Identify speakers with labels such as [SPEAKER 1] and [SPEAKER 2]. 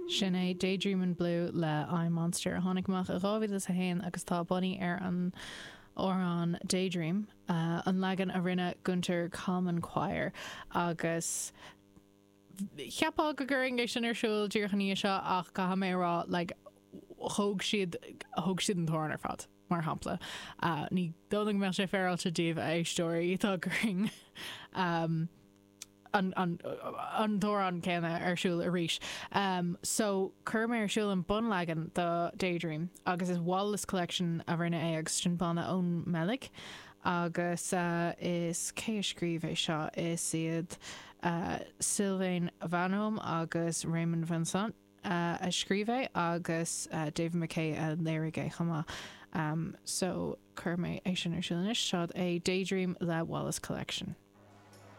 [SPEAKER 1] Sin é Daydream in Blue le I Monster a tháinig amach i 2001 agus tá bunaithe ar an amhrán Daydream, an leagan a rinne Gunter Common Choir agus cheapfá go gcuirfinn é sin ar siúl díreach i ndiaidh seo ach caithfidh mé a rá like thóg siad thóg siad an t-amhrán ar fad mar shampla. Ní dóigh liom go mbeadh sé féaráilte daoibh a éisteoirí dá gcuirfinn an an t-amhrán céanna ar siúl arís. So chuir mé ar siúl an bunleagan do Daydream agus is Wallace Collection a rinne é agus sin banna ón mBeilg agus is cé a scríobh é seo? Is iad Sylvain Vanholme agus Raymond Vincent a scríobh é agus David McKay a léirigh é chomh maith. So chuir mé é sin ar siúl anois. Seo é Daydream le Wallace Collection.